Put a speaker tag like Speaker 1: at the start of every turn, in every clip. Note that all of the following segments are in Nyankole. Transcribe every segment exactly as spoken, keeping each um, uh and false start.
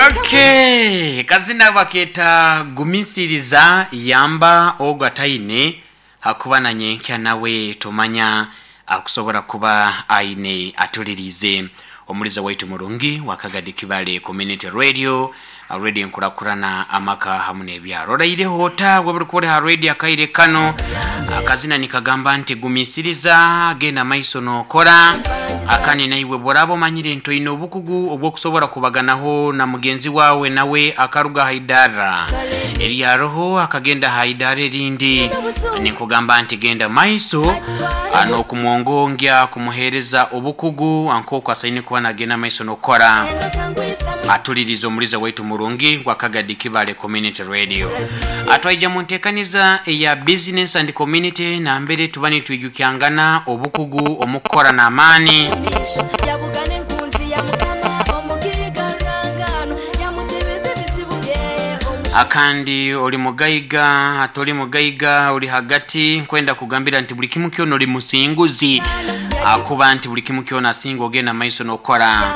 Speaker 1: Okay, kazina baketa gumisiriza yamba ogwo ataine hakuba na nyenkya nawe tomanya akusobora kuba aine atulirize omuliza waitu murungi wakagadi kibale Community Radio, radio enkurakurana amaka hamu n'ebyaro. Oraireho ota weburi kuba ha radio akaire kano? Akazina nikagamba nti gumisiriza, genda maiso nokora akani naiwe bworaba omanyire nti oine obukugu obwokusobora kubaganaho na mugenzi wawe nawe akaruga haidara eryaroho akagenda haidara erindi, nikugamba nti genda maiso n'okumwongongya kumuhereza obukugu ankoku asaine kuba nagenda maiso nokora. Atuliriza omuliza waitu murungi wakagadi kibale Community Radio. Atwaija mu nteekaniza eya business and community, nambere tuba nitwijukyangana obukugu omukukora n'amaani.
Speaker 2: Yabugana enkunzi ya mukama omugigarangano yamutebeza ebizibu bye.
Speaker 1: Akandi oli mugaiga, atoli mugaiga, oli hagati, nkwenda kugambira nti buli kimu kyona oli musinguzi, akuba nti buli kimu kyona asinga ogenda maiso nokora,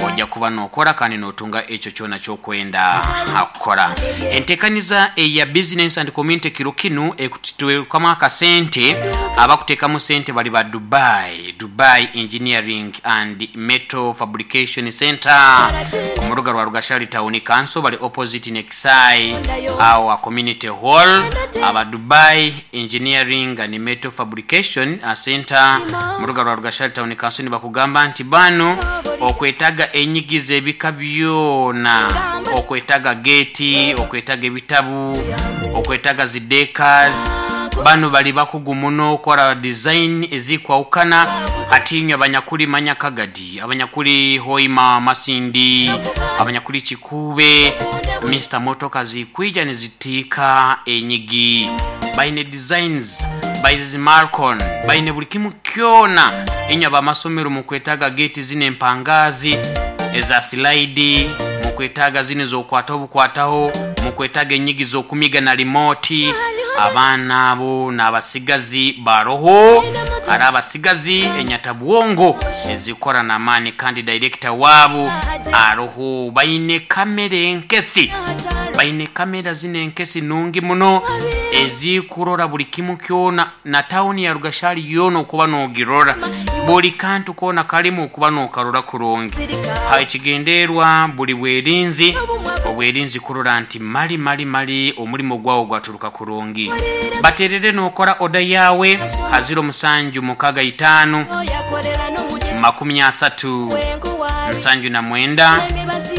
Speaker 1: ojja kuba nokora kandi notunga ekyo kyona kyokwenda akukora. Entekaniza eya business and community kiro kinu ekutitwekamu akasente. Abakuteekamu sente bali ba Dubai, Dubai Engineering and Metal Fabrication Center omuruga rwa Rugashali Town Council, bali opposite Nexai our community hall. Aba Dubai Engineering and Metal Fabrication Center muruga rwa Rugashali Town Council nibakugamba nti bano okwetaga enyigiza ebika byona, okwetaga geti, okwetaga ebitabu, okwetaga zidekas, bano bali bakugu muno okora design ezikwawukana. Atinywe abanyakuli manyakagadi, abanyakuli Hoima, Masindi, abanyakuli Kikube, Mr motoka zikwija nizitiika enyigi, baine designs baizi malcon, baine buli kimu kyona. Inywe abamasomero mukwetaga geti zino empangazi eza silaidi, mukwetaga zino zokwata obukwataho, mukwetaga enyigi zokumiga na limoti, abaana abo n'abasigazi baroho ari abasigazi enyatabwongo ezikora n'amaani, kandi director waabo aroho. Baine kamera enkesi, baine kamera zino enkesi nungi muno ezikurora buli kimu kyona na tawuni ya Rugashali yona okuba nogirora buli kantu kona kalimu okuba nokarora kurungi. Ha ekigenderwa buli bwerinzi obwerinzi kurora nti mali mali mali omulimo gwawo gwaturuka kurungi. Baterere nokora oda yawe ha ziro musanju mukaga itaano
Speaker 2: Yakorera n'omugye
Speaker 1: makumi asatu nsanju na mwenda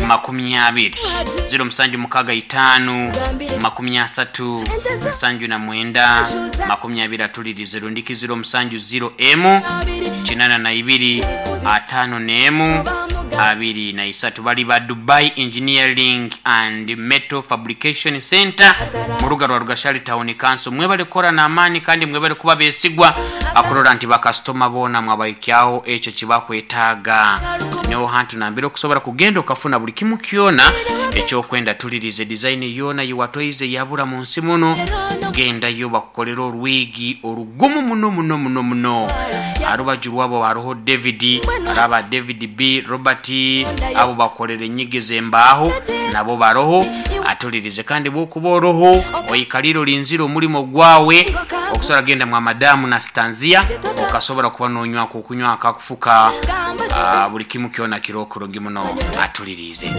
Speaker 1: makumi abiri, ziro musanju mukaga itaano makumi asatu nsanju na mwenda makumi abiri. Atulirize rundiki ziro musanju ziro emu kinana na ibiri atano n'emu abiri na isatu. Bali ba Dubai Engineering and Metal Fabrication Center mu ruga rwa Rugashali Town Council. Mwebale kukora n'amaani kandi mwebale kuba besigwa akurora nti bakasitoma boona mwabaikyaho ekyo kibakwetaaga. Niho hantu nambere okusobola kugenda okafuna buli kimu kyona ekyokwenda. Tulirize design yona yiwatoize yabura mu nsi muno, gendayo bakukolera orwigi orugumu muno muno muno muno. Arubaju rwabo haroho David, araba David B Robert, abo bakolera enyigi z'embaaho nabo baroho. Atulirize kandi bwokuba oroho oikalire olinzire omulimo gwawe okusobola genda mwa madamu na stanzia okasobola kuba nonywako okunywa akakufuka. Ah, buli kimu kyona kirokurungi muno. Atulirize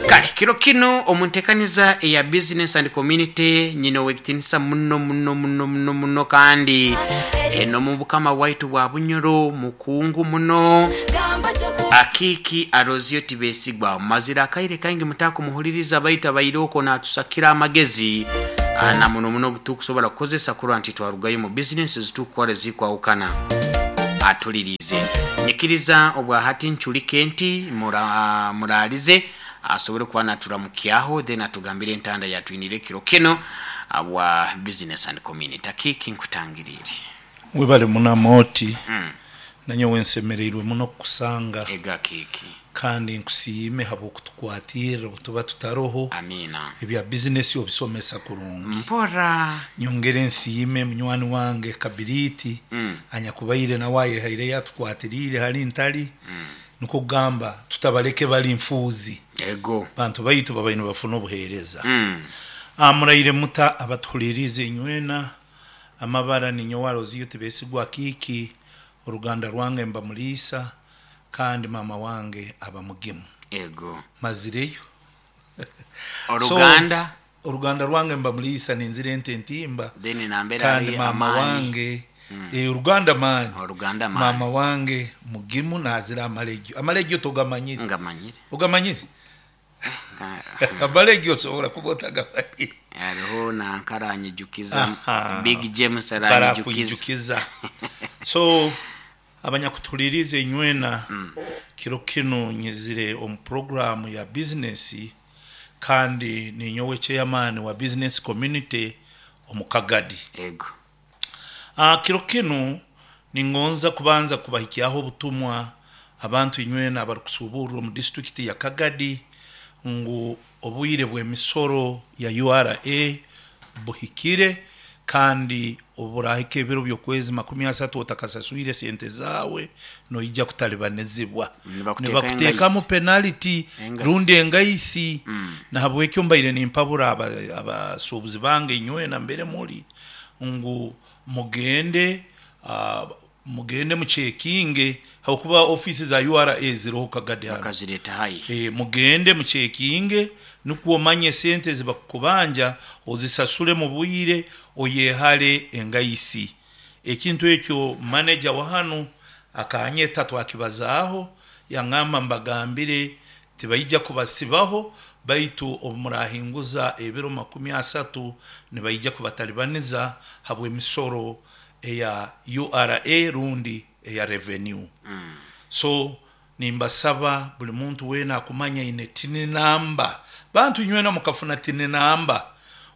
Speaker 1: kale kiro kino omuntekaniza eya business and community nyina owekitinisa muno muno muno muno muno, kandi eno mu bukama bwaitu bwa Bunyoro mukungu muno.
Speaker 2: Gamba kyoku
Speaker 1: Akiiki Arozio Tibesigwa mazira akaire kaingi mutakumuhuliriza baitu abaire okwo natusakira amagezi. Ah, na muno muno tukusobola kukozesa kurwa nti twarugayo mu bizinesi zitukukora ezikwawukana. Atulirize nyikiriza obwahati nculike nti mura- muralize asobole kuba naturamukyaho, then atugambire entanda yatwinire kiro kino abwa business and community. Akiiki, nkutangirire.
Speaker 3: Webale munamooti. Nanyowe nsemereirwe muno kukusanga.
Speaker 1: Ega Kiiki.
Speaker 3: Kandi nkusiime habwokutukwatirira obutuba tutaroho.
Speaker 1: Amina.
Speaker 3: Ebya bizinesi obisomesa kurungi.
Speaker 1: Mpora.
Speaker 3: Nyongere nsiime munywani wange Kabiriti anyakubaire nawe ayehaire yatukwatiriire hali ntali, nikwo kugamba tutabaleke bali nfuuzi.
Speaker 1: Ego.
Speaker 3: Bantu baitu babaire nibafuna obuheereza.
Speaker 1: Mm.
Speaker 3: Ah, muraire muta abatuhulirize inywena. Amabara ninyowe Aroziyo Tibesigwa Kiiki, oruganda rwange mba Muriisa kandi mama wange aba Mugimu.
Speaker 1: Ego.
Speaker 3: Mazireyo.
Speaker 1: Oruganda.
Speaker 3: So, oruganda rwange mba Muriisa ninzira ente entimba.
Speaker 1: Then nambera
Speaker 3: kandi
Speaker 1: ari
Speaker 3: mama
Speaker 1: amani.
Speaker 3: wange mm. E, oruganda mani.
Speaker 1: Oruganda mani.
Speaker 3: Mama wange Mugimu nazira amalegyo. Amalegyo togamanyire.
Speaker 1: Ngamanyire.
Speaker 3: Ogamanyire? Amalegyo osobola kuba otagamanyire.
Speaker 1: Hariho nankaranyijukiza.
Speaker 3: Aha.
Speaker 1: Big James aranyijukiza.
Speaker 3: Barakwijukiza. So abanyakutulirize inywena mm. kiro kinu nyizire omu programu ya business kandi ninyowe chairman wa business community omu Kagadi.
Speaker 1: Ego.
Speaker 3: Ah, kiro kinu ningonza kubanza kubahikyaho obutumwa abantu inywena abarikusuburra omu district ya Kagadi ngu obwire bw'emisoro ya U R A buhikire kandi oburahika ebiro by'okwezi makumi asatu otakasaswire sente zawe noija kutalibanizibwa.
Speaker 1: Nibakuteeka
Speaker 3: Nibakuteekamu
Speaker 1: engaisi.
Speaker 3: penalty
Speaker 1: Engaisi.
Speaker 3: rundi engaisi. Mm. Nahabwekyo mbaire nimpabura abasuubuzi bange inywena mbere muri ngu mugende uh, mugende mucekinge hakuba ofisi za U R A ziriho Kagadi hano.
Speaker 1: Bakazireta hayi.
Speaker 3: E, mugende mucekinge nukwo omanye sente zibakubanja ozisasule mu bwire oyehale engaisi. Ekintu ekyo manager wa hano akanyeta twakibazaaho yangamba mbagambire tibaija kubasibaho baitu obumurahinguza ebiro makumi asatu nibaija kubatalibaniza habw'emisoro eya U R A rundi eya revenue. Mm. So nimbasaba buli muntu wena akumanya ine tini namba. Bantu inywena mukafuna tini namba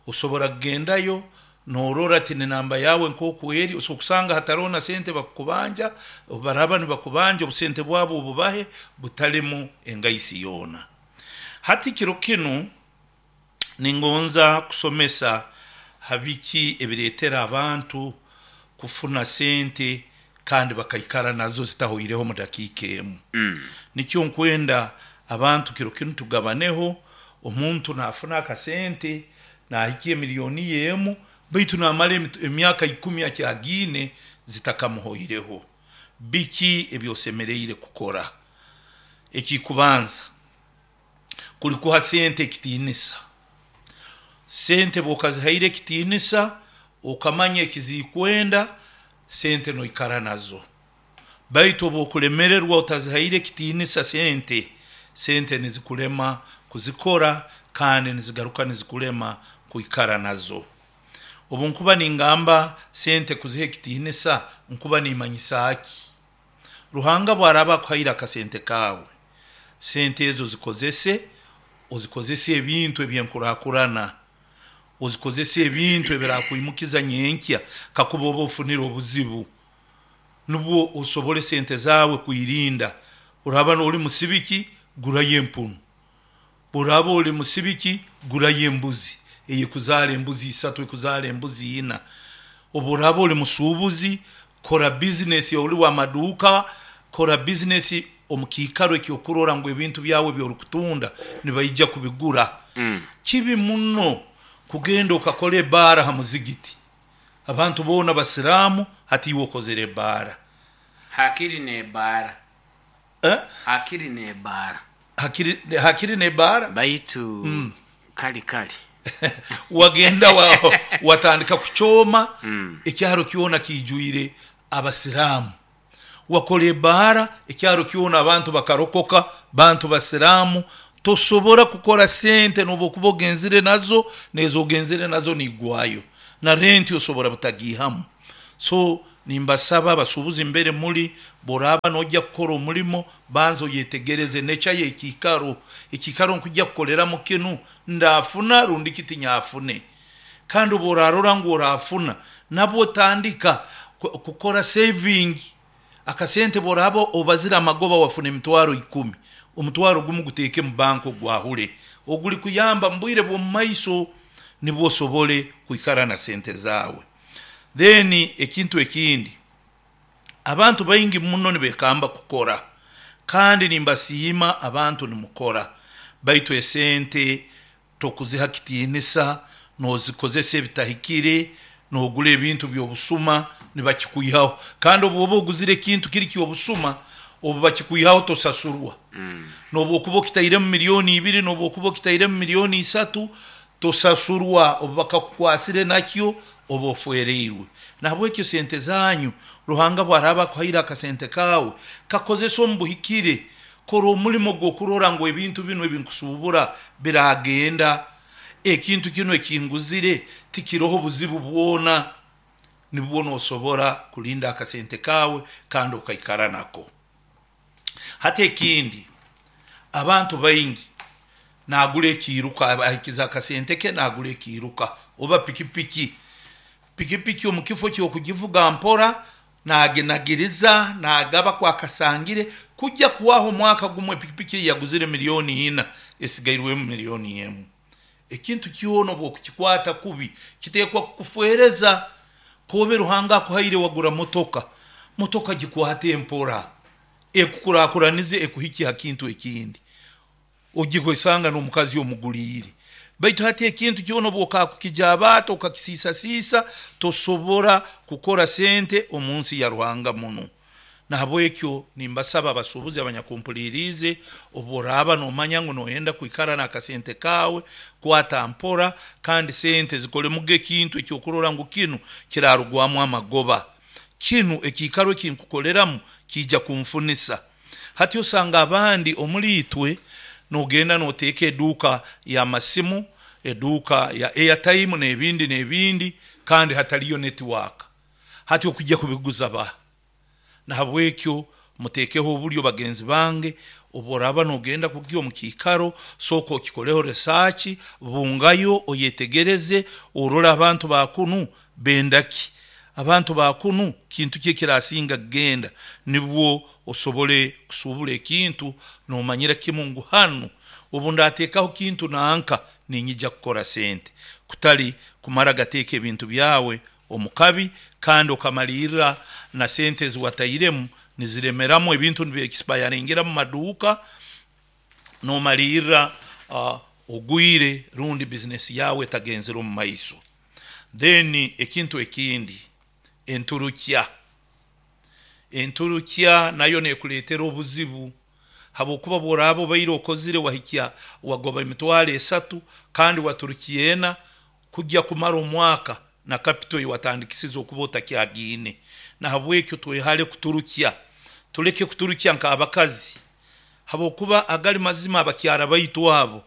Speaker 3: osobora kugendayo norora tini namba yawe nkoku eri, osokusanga hatarona sente bakubanja, baraba nibakubanja obusente bwabo obubahe butalimu engaisi yona. Hati kiro kinu ningonza kusomesa habiki ebiretera abantu kufuna sente kandi bakaikara nazo zitahoireho mu dakika emu. Mm. Nikyo nkwenda abantu kiro kinu tugabaneho, omuntu nafuna akasente nahikie milioni yemu baitu namara emyaka ikumi akyagine zitakamuhoireho. Biki ebyosemereire kukora? Ekikubanza kulikuha sente ekitinisa. Sente bwokazihaire ekitinisa okamanya ekizikwenda sente noikara nazo. Baitu obwokulemererwa utazihaire ekitinisa sente, sente nizikulema kuzikora kandi nizigaruka nizikulema kuikara nazo. Obu nkuba ningamba sente kuziha ekitinisa nkuba nimanyisa aki? Ruhanga bwaraba akuhaire akasente kawe, sente ezo zikozese, ozikozese ebintu ebyenkurakurana, ozikozese ebintu ebirakwimukiza nyenkya kakuba oba ofunire obuzibu, nubwo osobole sente zawe kuirinda. Uraba ori musibiki gurayo empunu, uraba ori musibiki gurayo embuzi eye kuzara embuzi isatu ekuzara embuzi ina. Oburaba ori musubuzi kora business ori wa maduka, kora business omukikaro ekyokurora ngu ebintu byawe byorukutunda nibaija kubigura. Mm. Kibi muno kugenda okakora ebara ha muzigiti, abantu bona basiramu hati iwe okozere ebara.
Speaker 1: Hakiri ne bara.
Speaker 3: Eh?
Speaker 1: Hakiri ne bara.
Speaker 3: Hakiri, hakiri ne bara.
Speaker 1: Baitu mm. kali kali.
Speaker 3: Wagenda wa, watandika kuchoma mm. ekyaro kiona kijuire abasiramu. Wakora ebara ekyaro kiona abantu bakarokoka bantu basiramu. Tosobora kukora sente nobokuba ogenzire nazo nezo ogenzire nazo nigwayo na renti osobora butagihamu. So nimbasaba abasuubuzi mbere muri boraba nojya kukora omulimo banzo yetegereze necha yekikaro ekikaro nkujya kukolera mu kinu ndafuna rundi kitinyafune. Kandi borarora ngo orafuna nabwo tandika kukora saving akasente boraba obazira amagoba wafuna emitwaro ikumi, omutwaro gumu guteke mu banko gwahule oguli kuyamba mbwire bwo maiso nibwo sobole kuikara na sente zawe. Then ekintu ekindi abantu baingi muno nibekamba kukora kandi nimbasiima abantu nimukora, Baitu esente tokuziha kitiinisa, nozikozesa ebitahikire, nogura ebintu by'obusuma, nibakikwihaho. Kandi obu oba oguzire ekintu kiri ky'obusuma, obu bakikwihaho tosasurwa. Nobu okuba okitairemu miliyoni ibiri, nobu okuba okitairemu miliyoni isatu, tosasurwa. Obu bakakukwasire nakyo, oba ofwereirwe. Nahabwekyo sente zanyu, Ruhanga bwaraaba akuhaire akasente kaawe, kakozesa omu buhikire. Kora omulimo gw'okurora ngu ebintu binu ebinkusuubura biragenda, ekintu kinu ekinguzire tikiroho buzibu bwona, nibwo nosobora kulinda akasente kaawe kandi okaikara nako. Hati ekindi, abantu baingi nagura ekiiruka, ahikiza akasente ke nagura ekiiruka oba pikipiki. Pikipiki omu kifo ky'okugivuga mpora, naginagiriza, nagaba kwakasangire, kujya kuwaho omwaka gumwe pikipiki ei yaguzire miliyoni ina esigairwemu miliyoni emu. Ekintu kyona obu okukikwata kubi kiteekwa kukufereza. Kobe Ruhanga akuhaire wagura motoka, motoka gikwate mpora, ekukurakuranize, ekuhikye ha kintu ekindi, ogihwesanga n'omukazi omuguliire. Baitu hati ekintu kyona obu okakukijabaata okakisiisasiisa, tosobora kukora sente omu nsi ya Ruhanga muno. Nahabwekyo nimbasaba abasuubuzi abanyakumpuliriize, obu oraaba noomanya ngu noyenda kwikara n'akasente kaawe, kwata mpora, kandi sente zikolemuga ekintu ekyokurora ngu kinu kirarugwamu amagoba, kinu ekiikaro ekinkukoleramu kiija kunfunisa. Hati osanga abandi omuli itwe nogenda noteeka eduuka y'amasimu, eduuka ya airtime n'ebindi n'ebindi, kandi hataliyo network. Hati okujya kubiguza baha? Nahabwekyo muteekeho obulyo bagenzi bange, obu oraaba nogenda kugya omu kiikaro, sooka okikoleho research, bungayo oyetegereze, orole abantu ba kunu benda ki, abantu ba kunu kintu ki ekirasinga kugenda, nibwo osobole kusuubura ekintu noomanyira kimu ngu hanu obu ndateekaho kintu nanka ninyija kukora sente, kutali kumara gateeka ebintu byawe omu kabi kandi okamalirra na sente ezi watairemu niziremeramu, ebintu nibyexpiringira mu maduuka, noomalirra uh, ogwire rundi bizinesi yawe etagenzere omu maiso. Then ekintu ekindi, enturukya. Enturukya nayo neekuleetera obuzibu, habwokuba obu oraaba obaire okozire wahikya wagoba emitwaro esatu kandi waturukya ena, kujya kumara omwaka na capital ei watandikisize okuba otakyagiine. Nahabwekyo twehale kuturukya, tuleke kuturukya nk'abakazi, habwokuba agali mazima abakyara baitu abo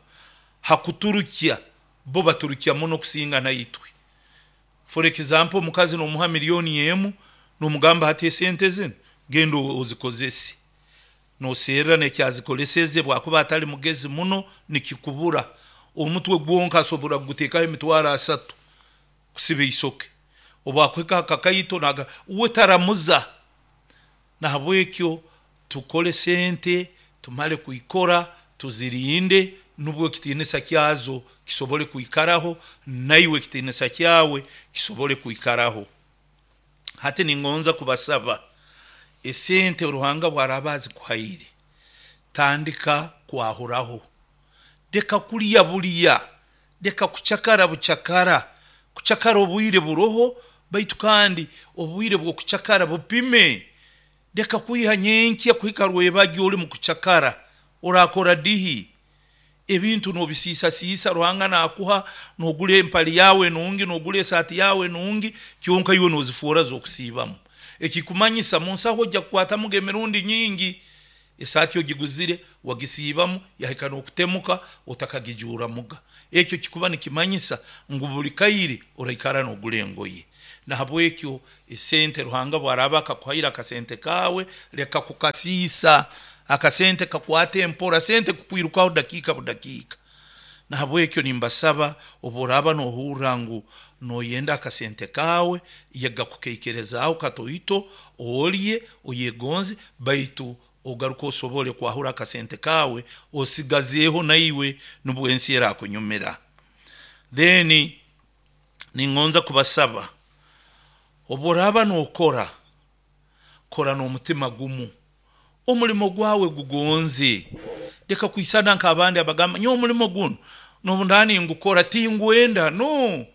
Speaker 3: ha kuturukya bo baturukya muno kusinga naitwe. For example, omukazi nomuha miliyoni emu, nomugamba hati esente zinu genda ozikozese, noserra n'ekyazikoleseze, bwakuba atali mugezi muno nikikubura. Omutwe gwonka asobora kuguteekaho emitwaro asatu kusiba isoke, obu akuhika ha kakaito naga uwe taramuza. Nahabwekyo tukole sente, tumale kwikora tuzirinde, nubwo ekitiinisa kyazo kisobole kwikaraho, naiwe ekitiinisa kyawe kisobole kwikaraho. Hati ningonza kubasaba, esente Ruhanga bwaraaba azikuhaire, tandika kwahuraho, leka kulya bulya, leka kucakara bucakara. Kucakara obwire buroho, baitu kandi obwire bw'okucakara bupime. Leka kwiha nyenkya kuhika rwebagyo oli mu kucakara, orakora dihi? Ebintu noobisiisasiisa, Ruhanga naakuha, noogura empali yawe enungi, noogura esaati yawe enungi, kyonka iwe noozifoora z'okusiibamu. Ekikumanyisa mu nsaho ojja kukwatamuga emirundi nyingi. Esaati ogiguzire, wagisiibamu, yahika n'okutemuka otakagijuuramuga. Ekyo kikuba nikimanyisa ngu buli kaire oraikara noogura engoye. Nahabwekyo esente Ruhanga bwaraaba akakuhaire akasente kaawe, leka kukasiisa. Akasente kakwate mpora, sente kukwirukaho dakiika budakiika. Nahabwekyo nimbasaba, obu oraaba noohurra ngu nooyenda akasente kaawe, yega kukaikerezaaho katoito, olye, oyegonze, baitu ogaruke osobole kwahura akasente kaawe osigazeeho naiwe nubwo ensi erakunyumira. Then ningonza kubasaba, obu oraaba nookora, kora n'omutima gumu, omulimo gwawe gugonze, Leka kwisana nk'abandi abagamba nyowe omulimo guno nobundani ngukora tingwenda. No,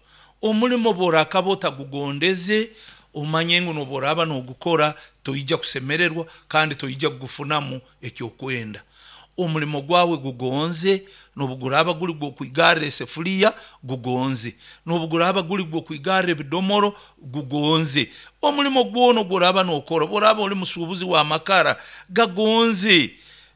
Speaker 3: omulimo bworakaba otagugondeze, omanye ngu noboraba nogukora toija kusemererwa kandi toija kugufunamu ekyokwenda. Omulimo gwawe gugonze, nobuguraba guli gwokwigarra esefuriya gugonze, nobuguraba guli gwokwigarra ebidomoro gugonze. Omulimo gwona ogworaba nokora, bworaba oli musuubuzi wa makara gagonze.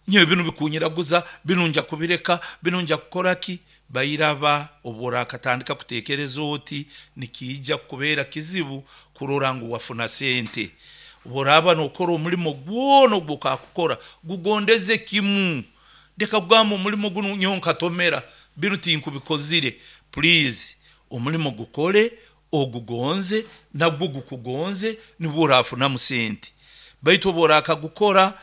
Speaker 3: Nyowe binu bikunyiraguza, binu nja kubireka, binu nja kukora ki? Bairaba obworakatandika kutekereza oti nikiija kukubeera kizibu kurora ngu wafuna sente. Bworaba nokora omulimo gwona ogwokakukora gugondeze kimu. Leka kugamba omulimo gunu nyowe nkatomera, binu tinkubikozire. Please, omulimo gukore ogugonze, nagwo gukugonze, nibwo orafunamu sente. Baitu obworakagukora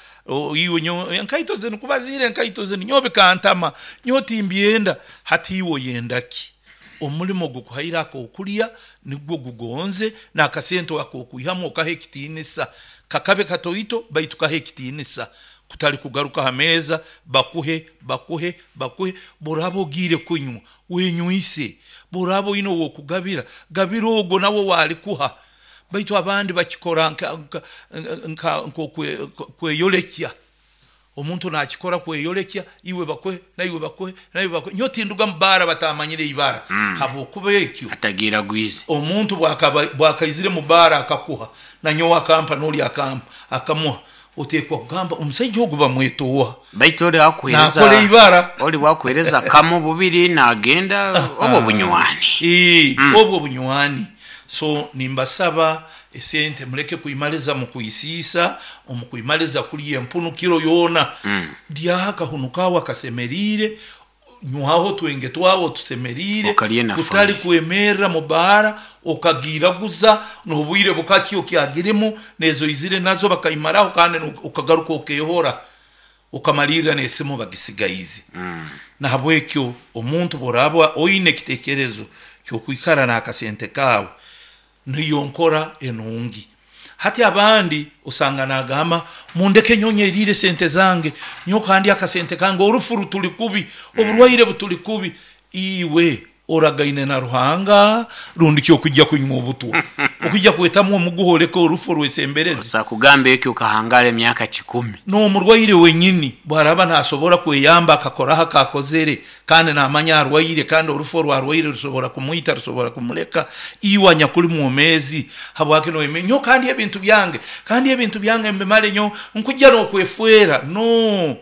Speaker 3: iwe nyowe enkaito zinu kubaziire enkaito zinu nyowe bikantama, nyowe timbyenda. Hati iwe oyenda ki? Omulimo gukuhaire akokulya nigwo gugonze, n'akasente akokwihamu okaha ekitiinisa. Kakabe katoito baitu kaha ekitiinisa, kutali kugaruka ha meeza bakuhe bakuhe bakuhe. Bworaba ogiire kunywa wenywise, bworaba oine owokugabira gabira ogwo nawe owalikuha. Baitu abandi bakikora nk'okweyolekya. Omuntu nakikora kweyolekya, iwe bakuhe naiwe bakuhe naiwe bakuhe. Nyowe tinduga mu baara batamanyire ibara, habwokuba ekyo
Speaker 1: atagiragwize.
Speaker 3: Omuntu bwakaizire mu baara akakuha, nanyowe akampa n'oli akampa akamuha, otekwa kugamba omusaija ogu bamweta oha?
Speaker 1: Baitu oli akuhereza
Speaker 3: nakora ibara,
Speaker 1: oli wakuhereza kamu bubiri nagenda obwo bunywani.
Speaker 3: Ee, obwo bunywani. So nimbasaba esente muleke kuimaliza mukuisiisa, omukuimaliza kulya empunu kiro yoona. Lyaho akahunu kawe akasemeriire, nywaho twenge twawe otusemeriire,
Speaker 1: Okalye na
Speaker 3: kutali
Speaker 1: family.
Speaker 3: kwemerra mu baara okagiraguza n'obwire bukaki okyagirimu nezo izire nazo bakaimaraho, kandi okagaruka okehora okamalirra n'esimu bagisigaize. Nahabwekyo omuntu bworaba oine ekitekerezo kyokwikara n'akasente kawe, niyo nkora enungi. Hati abandi osanga nagamba mundeke nyonye erire sente zange, nyowe kandi akasente kange, orufu rutuli kubi, oburwaire butuli kubi. Iwe oragaine na Ruhanga rundi ki okujja kunywa obutwa okujja kwetamu omuguha oleke orufu rwesembereze?
Speaker 1: Osa kugamba ekyo okahangara emyaka kikumi.
Speaker 3: N'omurwaire wenyini bwaraba nasobora kweyamba akakoraho akakozere, kandi namanya arwaire, kandi orufu orwarwaire rusobora kumwita, rusobora kumuleka. Iwe anyakuli mwomezi habwaki noyeme nyo kandi ebintu byange, kandi ebintu byange mbimale nyo nkujja n'okwefwera? No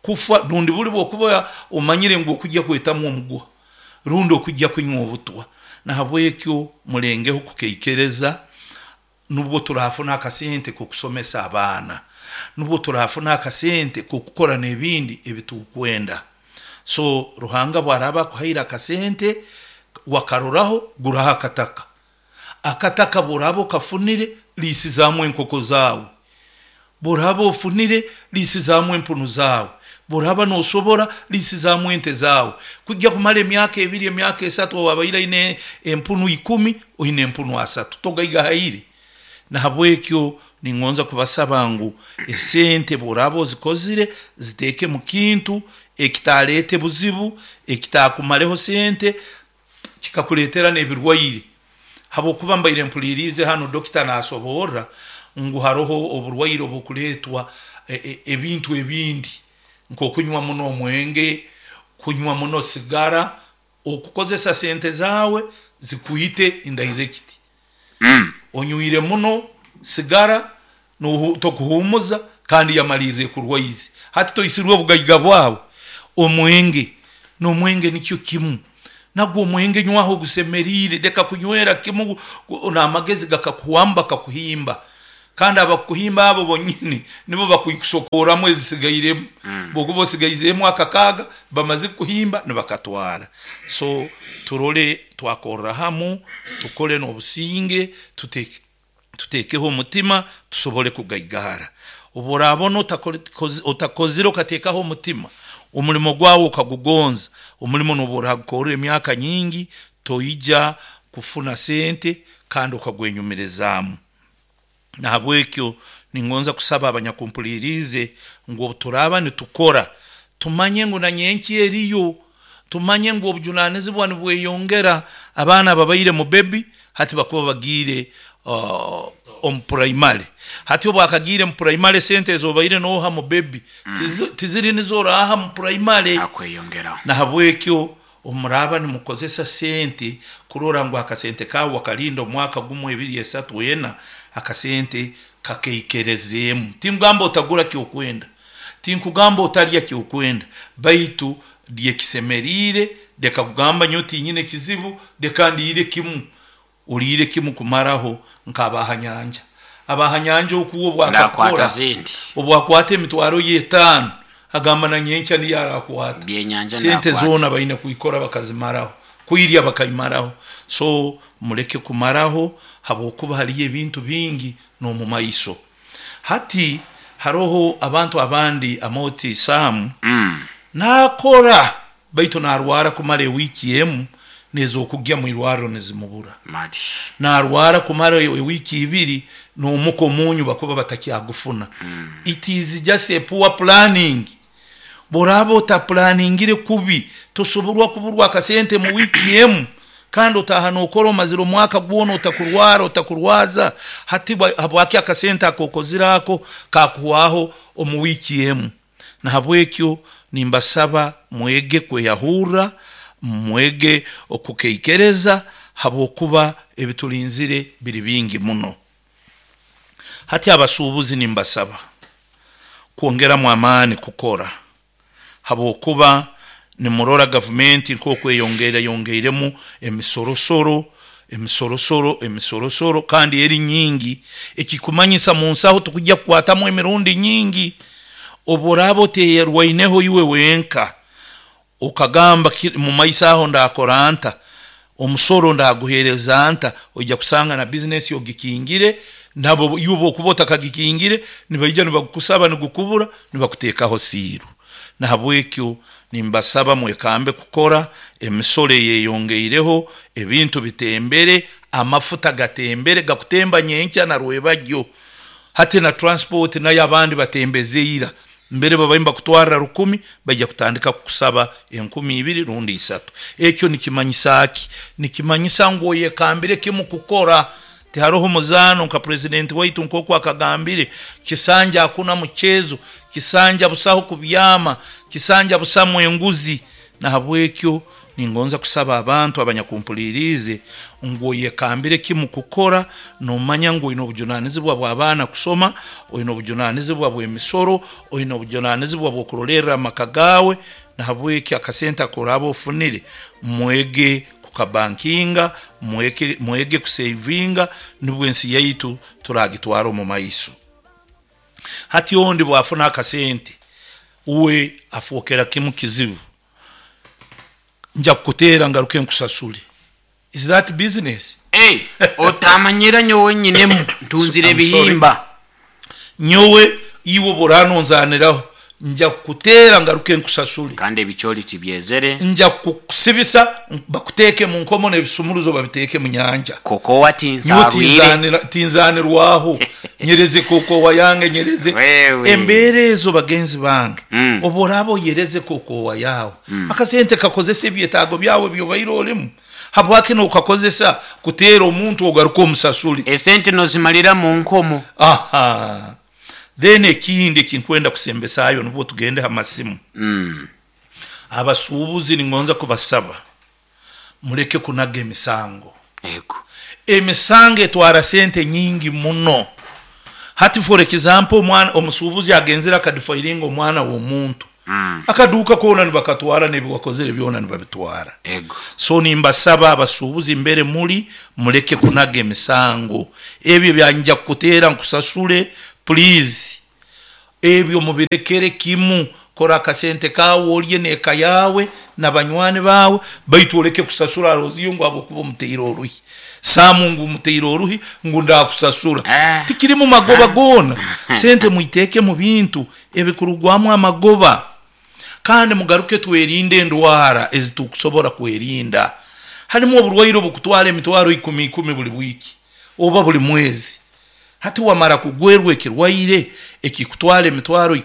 Speaker 3: kufa rundi buli bwokuba omanyire ngu okujja kwetamu omuguha rundi okujja kunywa obutwa. Nahabwekyo mulengeho kukeikereza. Nubwo turafuna akasente kokusomesa abaana, nubwo turafuna akasente kokukora n'ebindi ebitukwenda. So Ruhanga bwaraba akuhaire akasente wakaroraho, guraho akataka. Akataka bworaba okafunire, liisizaamu enkoko zaawe. Bworaba ofunire, liisizaamu empunu zaawe. Bworaba nosobora, liisizaamu ente zaawe. Kujja kumara emyaka ebiri, emyaka esatu, owabaire aine empunu ikumi oine empunu asatu, togaigahaire. Nahabwekyo ningonza kubasaba ngu esente bworaba ozikozire ziteeke mu kintu ekitaleete buzibu, ekitakumareho sente kikakuleetera n'ebirwaire. Habwokuba mbaire mpuliriize hanu dokita nasoborra ngu haroho oburwaire obukuleetwa ebintu ebindi, nk'okunywa muno omwenge, kunywa muno sigara, okukozesa sente zaawe zikwite indirect. Onywire muno sigara tokuhumuza kandi yamalirra ekurwaize. Hati toisirwe obugaiga bwawe. Omwenge n'omwenge nikyo kimu, nagwo omwenge nywaho ogusemeriire, leka kunywera kimu n'amagezi gakakuhwamba bakakuhimba. Kandi abakuhimba abo bonyini nibo bakusokoramu ezisigairemu. Bwokuba osigaizeemu akakaaga bamaze kuhimba nibakatwara. So turole twakorra hamu, tukole n'obusinge, tutekeho omutima tusobole kugaigahara. Obworabona otakozire okateekaho omutima, omulimo gwawe okagugonza, omulimo nobu oragukorra emyaka nyingi toija kufuna sente kandi okagwenyumirizaamu. Nahabwekyo ningonza kusaba abanyakumpuliriize ngu obu turaaba nitukora Tumanye ngu na nyenki eriyo, tumanye ngu obujunanizibwa nibweyongera. Abaana babaire mu baby hati bakuba bagiire uh, omu primary. Hati obwakagiire mu primary, sente ezobaire noha mu baby tizi- tiziri nizo oraha mu primary.
Speaker 1: Akweyongeraho.
Speaker 3: Nahabwekyo omuraba nimukozesa sente kurora ngu akasente kawe wakalinda omwaka gumwe, ebiri, esatu, ena, akasente kakeikerezemu. Tinkugamba otagura kyokwenda, tinkugamba otarya kyokwenda, baitu lyekisemeriire. Leka kugamba nyo tinyine kizibu, leka ndiire kimu. Oliire kimu kumaraho nk'abahanyanja, abahanyanja okuwa
Speaker 1: Ndakwata
Speaker 3: obwakakora
Speaker 1: zindi.
Speaker 3: Obwakwata emitwaro y'etaano, agamba na nyenkya niyo arakwata.
Speaker 1: Byenyanja.
Speaker 3: Sente
Speaker 1: Ndakwata.
Speaker 3: zoona baine kuikora bakazimaraho, kwirya bakaimaraho. So muleke kumaraho, habwokuba haliyo ebintu bingi n'omu maiso. Hati haroho abantu abandi amoti saamu
Speaker 1: Mm.
Speaker 3: nakora, baitu narwara kumara ewiiki emu, nezokugya mu irwariro nizimubura.
Speaker 1: Mati.
Speaker 3: Narwara kumara ewiiki ibiri, n'omuka omunyu bakuba batakyagufuna. It is just a poor planning. Boraba otaplaningire kubi, tosoborwa kuburwa akasente mu wiiki emu, kandi otaha nokora omazire omwaka gwona otakurwara, otakurwaza. Hati bwa- habwaki akasente akokozire ako kakuhwaho omu wiiki emu? Nahabwekyo nimbasaba mwege kweyahurra, mwege okukeikereza, habwokuba ebitulinzire biri bingi muno. Hati abasuubuzi nimbasaba kwongeramu amaani kukora, habwokuba nimurora gavumenti nk'okweyongera yongeiremu emisorosoro, emisorosoro, emisorosoro, kandi eri nyingi, ekikumanyisa mu nsaho tukujja kukwatamu emirundi nyingi. Obu oraaba oteyerwaineho iwe wenka, okagamba ki- mu maiso aho ndakora nta, omusoro ndaguhereza nta, ojja kusanga na bizinesi ogikingire. Nabo iwe bwokuba otakagikingire, nibaija nibakusaba, nigukubura, nibakuteekaho siiru. Nahabwekyo nimbasaba mwekambe kukora. Emisoro eyeyongeireho, ebintu bitembere, amafuta gatembere, gakutemba nyenkya na rwebagyo. Hati na transport nayo abandi batembeze ira. Mbere babaye bakutwarira rukumi, bajya kutandika kukusaba enkumi ibiri rundi isatu. Ekyo nikimanyisa ki? Nikimanyisa ngu oyekambire kimu kukora. Tiharoho muzaano. Nka president waitu nk'oku akagambire, kisanja hakuna mchezo, kisanja busaho kubyama, kisanja busamu enguzi. Nahabwekyo ningonza kusaba abantu abanyakumpuliriize ngu oyekambire kimu kukora, nomanya ngu oine obujunanizibwa bw'abaana kusoma, oine obujunanizibwa bw'emisoro, oine obujunanizibwa bw'okurolerra amaka gaawe. Nahabwekyo akasente akoraba ofunire, mwege kukabankinga, mweke, mwege kusevinga, nibwo ensi yaitu turagitwara omu maiso. Hati ondi bwafuna akasente, uwe afuokera kimu kizibu: nja kukuteera ngaruke nkusasule. Is that business?
Speaker 1: Hey, otamanyira nyowe nyinemu ntunzire
Speaker 3: I'm sorry.
Speaker 1: ebihimba.
Speaker 3: Nyowe iwe buranonzaniraho, nja kukuteera ngaruke nkusasule.
Speaker 1: Kandi ebikyoli tibyezere.
Speaker 3: Nja kukusibisa, bakuteeke mu nkomo n'ebisumuruzo babiteeke mu nyanja.
Speaker 1: Kokowa
Speaker 3: Nyowe
Speaker 1: tinsarwire.
Speaker 3: tinzanira- tinzanirwaho, nyereze kokowa yange, nyereze.
Speaker 1: Wewe.
Speaker 3: Embeera ezo, bagenzi bange,
Speaker 1: Mm.
Speaker 3: oba oraba oyereze kokowa yawe, akasente kakozesa ebyetaago byawe byobaire olimu. Habwaki nokakozesa kuteera omuntu ogaruka omusasule?
Speaker 1: Esente nozimalira mu nkomo.
Speaker 3: Aha, then ekindi ekinkwenda kusembesayo, nibwo tugende ha masimu.
Speaker 1: Mm.
Speaker 3: Abasuubuzi ningonza kubasaba muleke kunaga emisango.
Speaker 1: Ego.
Speaker 3: Emisango etwara sente nyingi muno. Hati for example, omwana omusuubuzi agenzere akadifayiringa omwana w'omuntu,
Speaker 1: Mm.
Speaker 3: akaduuka koona nibakatwara, nebiwakozere byona nibabitwara.
Speaker 1: Ego.
Speaker 3: So nimbasaba abasuubuzi mbere muli, muleke kunaga emisango. Ebyo byanja kukuteera nkusasule, please, ebyo mubirekere kimu. Kora akasente kawe, olye n'eka yawe na banywani bawe, baitu oleke kusasura aroziyo ngu habwokuba omuteire oruhi, saamu ngu umuteire oruhi ngu ndakusasura.
Speaker 1: Ah.
Speaker 3: Tikiri mu magoba goona. Sente muiteeke mu bintu ebikurugwamu amagoba. Kandi mugaruke twerinde endwara ezitukusobora kwerinda. Harimu oburwaire obukutwara emitwaro ikumi ikumi buli wiiki oba buli mwezi. Hati wamara kugwerwa ekirwaire ekikutwara emitwaro